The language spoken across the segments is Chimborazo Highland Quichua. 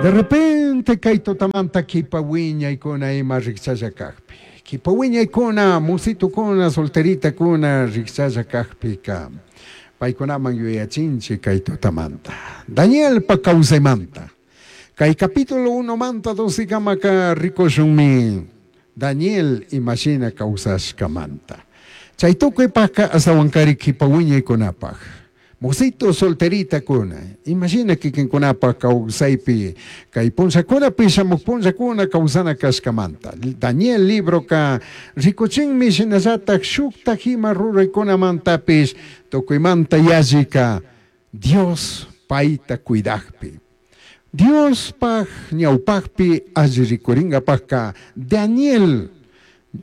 De repente kay tutamanta kipa wiñaykuna ima rikchalla kakpi. Kipa wiñaykuna, musitukuna, solteritakuna rikchalla kakpika. Paykunaman yuyachinchik kay tutamanta. Danielpa kawsaymanta. Kay capítulo 1 manta 12 kamaka rikushunmi Daniel imashina kawsashkamanta. Chay tukuypaqqa astawankari kipa wiñaykunapaq. Musito solteritakuna, imashina kikinkunapaq kawsaypi kay punllakunapi shamuq punllakuna kawsana kashkamanta. Daniel libroka rikuchinmi shinallatak shuktak ima ruraykunamantapish tukuymanta yallika Dios payta cuidakpi. Diospaj ñawpakpi alli rikuringapakka Daniel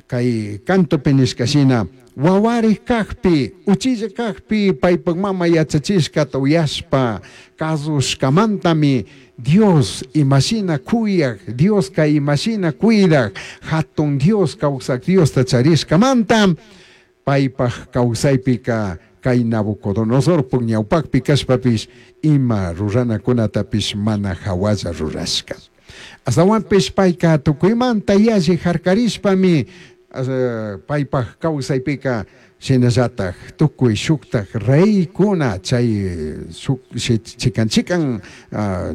kay cantopi nishka shina wawarik kakpi, uchilla kakpi paypak mama yachachishkata uyashpa kazushkamantami Dios imashina kuyak, Dioska imashina cuidak, hatun Dios kawsak Diosta charishkamanta paypak kawsaypika kay Nabucodonosorpuk ñawpakpi kashpapish ima ruranakunatapish mana hawalla rurashka. Astawanpish payka tukuymanta yalli harkarishpami paypak kawsaypika shinallatak tukuy shuktak reykuna chay chikan chikan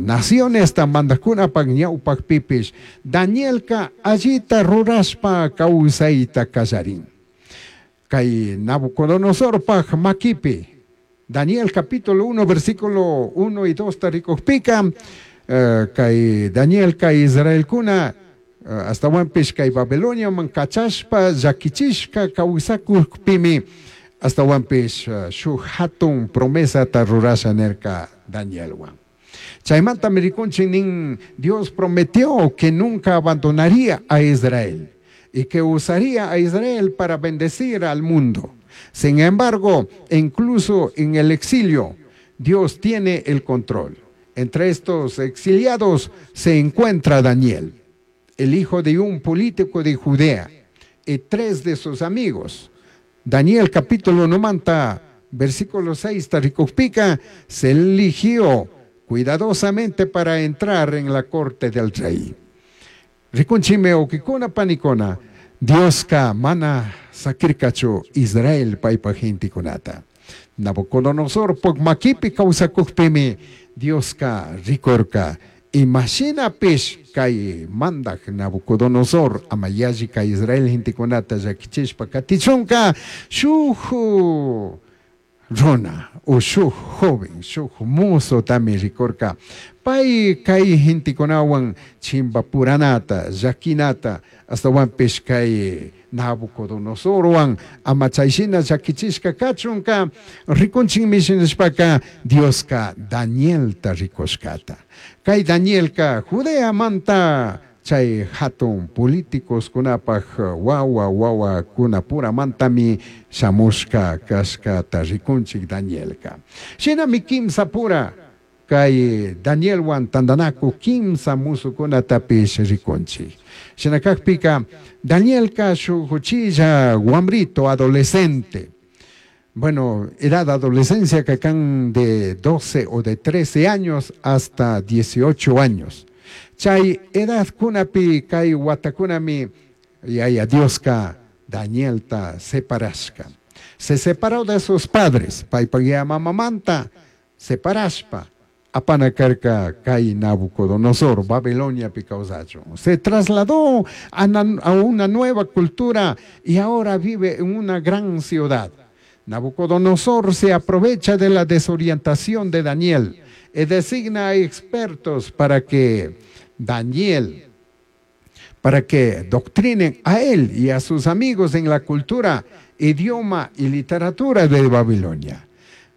nacionesta mandakkunapak ñawpakpipish Danielka allita rurashpa kawsayta kallarin. Kay Nabucodonosorpak makipi Daniel capítulo 1 versículo 1 y 2 rikukpika kay Daniel kay Israelkuna astawanpish kay Babiloniaman kachashpa llakichishka kawsakukpimi astawanpish shuk hatun promesata rurasha nirka Danielwan. Chaymantami rikunchik nin Dios prometió que nunca abandonaría a Israel y que usaría a Israel para bendecir al mundo. Sin embargo, incluso en el exilio, Dios tiene el control. Entre estos exiliados se encuentra Daniel, el hijo de un político de Judea, y tres de sus amigos. Daniel capítulo 90, versículo 6, rikukpika, se eligió cuidadosamente para entrar en la corte del rey. Rikunchimi wawkikuna panikuna, Dioska mana sakirkachu Israel paypak gentekunata. Nabucodonosorpuk makipi kawsakukpimi Dioska rikurka imashinapish kay mandak Nabucodonosor ama yalli kay Israel gentekunata llakichishpa katichunka shuk runa o shuk joven, shuk mozotami rikurka. Pay kay gentekunawan chimbapuranata, llakinata, astawanpish kay Nabucodonosorwan ama chayshina llakichishka kachunka rikunchikmi shinashpaka Dioska Danielta rikushkata. Kay Danielka Judeamanta chay hatun políticoskunapak wawa wawakunapuramantami shamushka kashkata rikunchik Danielka. Shinami kimsapura kay Danielwan tantanaku kimsa musukunatapish rikunchik. Shina kakpika Danielka shuk uchilla wambrito adolescente. Bueno, edad adolescencia que kan de 12 o de 13 años hasta 18 años. Chay edad kunapi kay watakunami yaya Dioska Danielta separashka. Se separó de sus padres, paypak mamamanta separashpa apana karka kay Nabucodonosor, Babilonia kawsachun. Se trasladó a una nueva cultura y ahora vive en una gran ciudad. Nabucodonosor se aprovecha de la desorientación de Daniel y designa a expertos para que Daniel, para que doctrinen a él y a sus amigos en la cultura, idioma y literatura de Babilonia.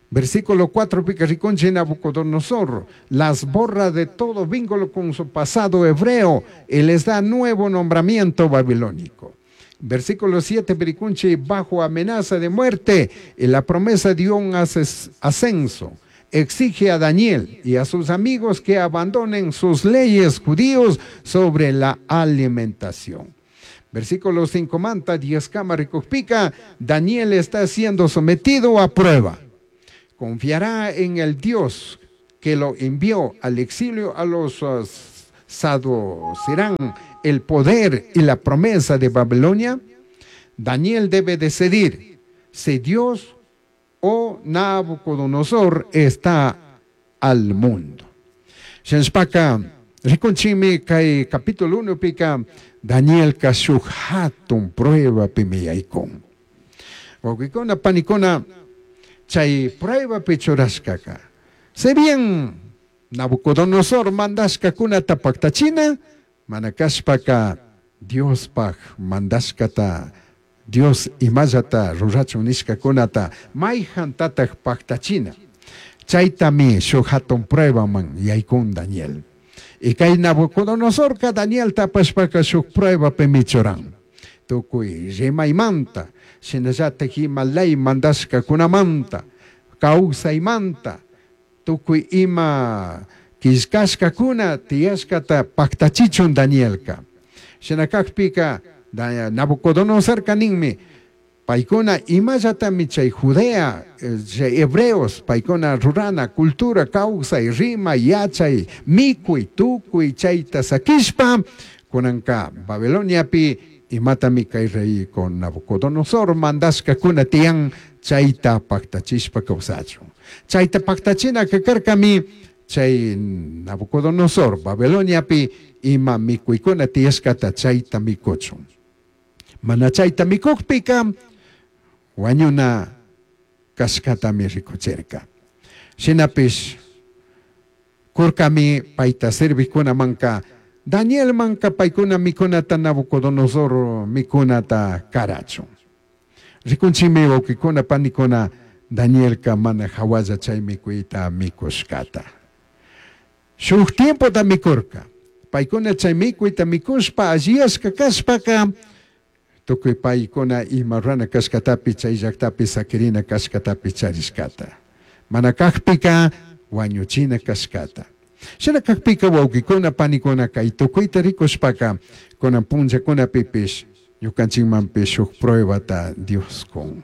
Versículo 4, pika rikunchik Nabucodonosor las borra de todo vínculo con su pasado hebreo y les da nuevo nombramiento babilónico. Versículo 7, rikunchik bajo amenaza de muerte y la promesa dio un ascenso. Exige a Daniel y a sus amigos que abandonen sus leyes judíos sobre la alimentación. Versículo 5 manta, 10 kama rikukpika, Daniel está siendo sometido a prueba. Confiará en el Dios que lo envió al exilio a los Saducirán el poder y la promesa de Babilonia? Daniel debe decidir si Dios o Nabucodonosor está al mundo. Shinashpaka rikunchikmi kay capítulo 1 pika Danielka shuk hatun pruebapimi yaykun. Wawqikuna panikuna chay pruebapi churashkaka. Si bien Nabucodonosor mandashkakunata paktachina, mana kashpaka Diospaj mandashkata, Dios imallata rurachun nishkakunata mayjantataj paktachina. Chaytami shuk hatun pruebaman yaykun Daniel. Y kay Nabucodonosorka Danielta apashpaka shuk pruebapimi churan. Tukuy rimaymanta, shinallatak ima ley mandashkakunamanta, kawsaymanta, tukuy ima killkashkakuna tiyashkata paktachichun Danielka. Shina kakpika Nabucodonosorka ninmi, paykuna imallatami chay Judea, chay hebreos, paykuna rurana, cultura, kawsay, rimay, yachay, mikuy, tukuy chayta sakishpa, kunanka Babiloniapi imatami kay rey con Nabucodonosor mandashkakuna tiyan chayta paktachishpa kawsachun. Chayta paktachina karkami chay Nabucodonosor Babiloniapi ima mikuykuna tiyashkata chayta mikuchun. Mana chayta mikukpika wañuna kashkatami rikuchirka. Shinapish kurkami payta servikkunamanka Danielmanka paykuna mikunata Nabucodonosor mikunata karachun. Rikunchikmi wawqikuna panikuna Danielka mana hawalla chay mikuyta mikushkata. Shuk tiempota mikurka. Paykuna chay mikuyta mikushpa alliyashka kashpaka tukuy paykuna ima rurana kashkatapi chay llaktapi sakirina kashkatapi charishkata. Mana kakpika wañuchina kashkata. Shina kakpika wawqikuna panikuna kay tukuyta rikushpaka kunan punllakunapipish ñukanchikmanpish shuk pruebata Dios kun.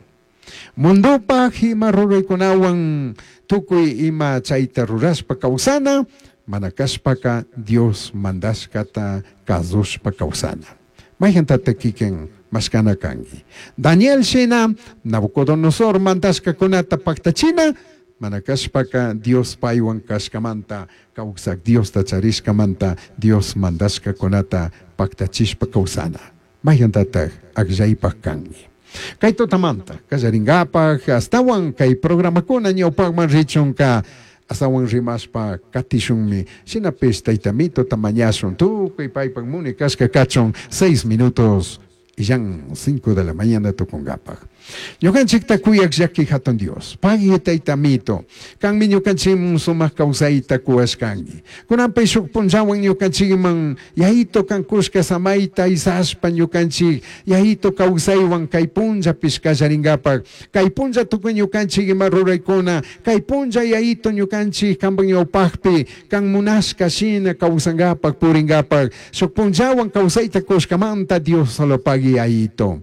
Mundupaj ima ruraykunawan tukuy ima chayta rurashpa kawsana, mana kashpaka Dios mandashkata kasushpa kawsana. Mayjantata kikin mashkana kanki. Daniel shina Nabucodonosor mandashkakunata paktachina, mana kashpaka Dios paywan kashkamanta, kawsak Diosta charishkamanta, Dios mandashkakunata paktachishpa kawsana. Mayjantataj akllaypaj kanki. Kay tutamanta kallaringapaj astawan kay programakuna ñawpakman richunka astawan rimashpa katishunmi shinapish tayta mañashun tukuy paypak muni kashka kachun 6 minutos y ya 5 de la mañana tukunkapaj. Ñukanchikta kuyak llaki hatun Dios. Pagui tayta mito. Kanmi ñukanchikman sumak kawsayta kuwashkanki. Kunanpi shuk punllawan ñukanchikman yayito kan kushka samayta isashpa ñukanchik yayito kawsaywan kay punllapish kallarinkapak. Kay punlla tukuy ñukanchik ima ruraykuna. Kay punlla yayito ñukanchik kanpak ñawpakpi kan munashka shina kawsankapak purinkapak. Shuk punllawan kawsayta kushkamanta Dios solo pagui yayito.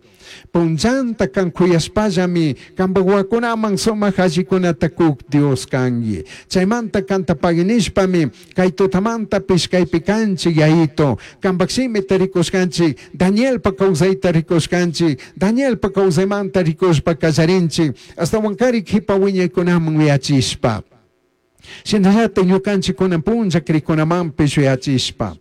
Punllanta kan kuyashpallami kanpak wawakunaman sumak allikunata kuk Dios kanki. Chaymanta kanta paginishpami kay tutamantapish kaypi kanchik yayito. Kanpak shimita rikushkanchik Danielpa kawsayta rikushkanchik Danielpa kawsaymanta rikushpa kallarinchik ashtawankari kipa wiñaykunaman yachishpa. Shinallatak ñukanchik kunan punlla krikunamanpish yachishpa.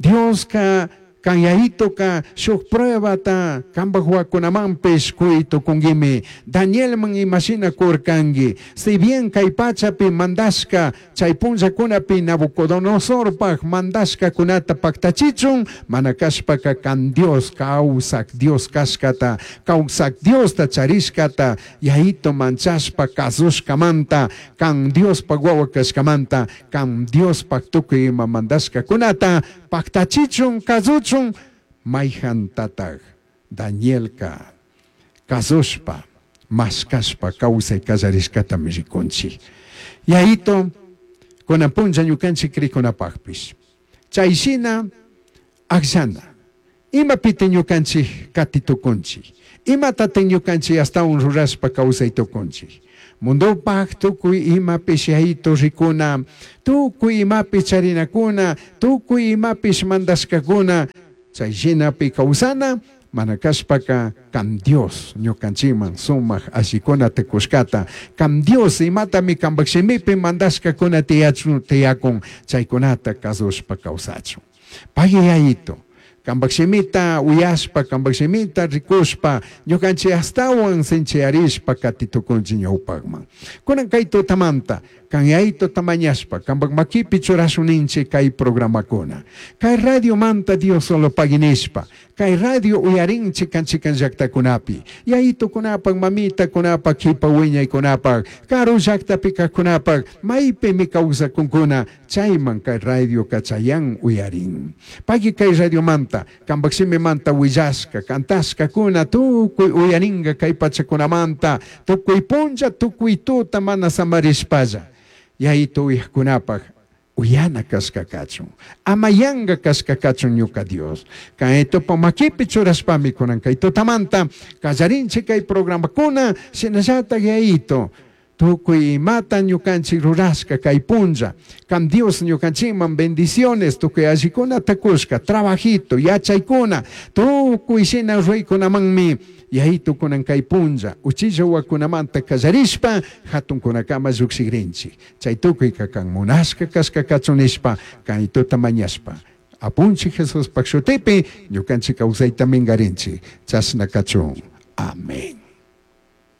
Dioska kan yayitoka shuk pruebata kanpak wawakunamanpish kuy tukunkimi. Danielman imashina kurkanki. Si bien kay pachapi mandashka chay punllakunapi Nabucodonosorpaj mandashkakunata paktachichun mana kashpaka kan Dios kawsak Dios kashkata kawsak Diosta charishkata yayito manchashpa kasushkamanta kan Diospaj wawa kashkamanta kan Diospaj tukuy ima mandashkakunata paktachichun kasuchun mayjantataj Danielka kasushpa mashkashpa kawsay kallarishkatami rikunchik. Yayito kunan punlla ñukanchik krikunapakpish. Chayshina akllana. Imapita ñukanchik kati tukunchik. Imatata ñukanchik astawan rurashpa kawsay tukunchik. Mundopaj tukuy imapish Yayito rikuna, tukuy imapish charinakuna, tukuy imapish mandashkakuna, chay shinapi kawsana, mana kashpaka kan Dios ñukanchikman sumak allikunata kushkata, kan Dios imatami kanpak shimipi mandashkakuna tiyachun tiyakun, chaykunata kasushpa kawsachun. Pagui Yayito, kanpak shimita uyashpa, kanpak shimita rikushpa, ñukanchik astawan sinchiyarishpa katitukunchik ñawpakman. Kunan kay tutamanta, kan Yayitota mañashpa, kanpak makipi churashun ninchik kay programakuna. Kay radiomanta Dios solo pagui nishpa, kay radio uyarinchik kanchikan llaktakunapi, yayitukunapak, mamitakunapak, kipa wiñaykunapak, karu llaktapi kajkunapak, maypimi kawsakunkuna, chayman kay radioka chayan uyarin. Pagui kay radiomanta, kanpak shimimanta willashka, kantashkakuna, tukuy uyarinka kay pachakunamanta, tukuy punlla, tukuy tuta mana samarishpalla. Yayito uyajkunapak uyana kashka kachun, ama yanka kashka kachun ñuka Dios. Kaytopa makipi churashpami kunan kay tutamanta kallarinchik kay programakuna, shinallatak Yayito, tukuy imata ñukanchik rurashka kay punlla, kan Dios ñukanchikman bendiciones, tukuy allikunata kushka, trabajito, yachaykuna, tukuy shina ruraykunamanmi Yayito kunan kay punlla, uchilla wawakunamanta kallarishpa, hatunkunakama llukshikrinchik. Chay tukuyka kan munashka kashka kachun nishpa, kaytuta mañashpa. Apunchik Jesuspak shutipi ñukanchik kawsayta minkarinchik. Chashna kachun. Amén.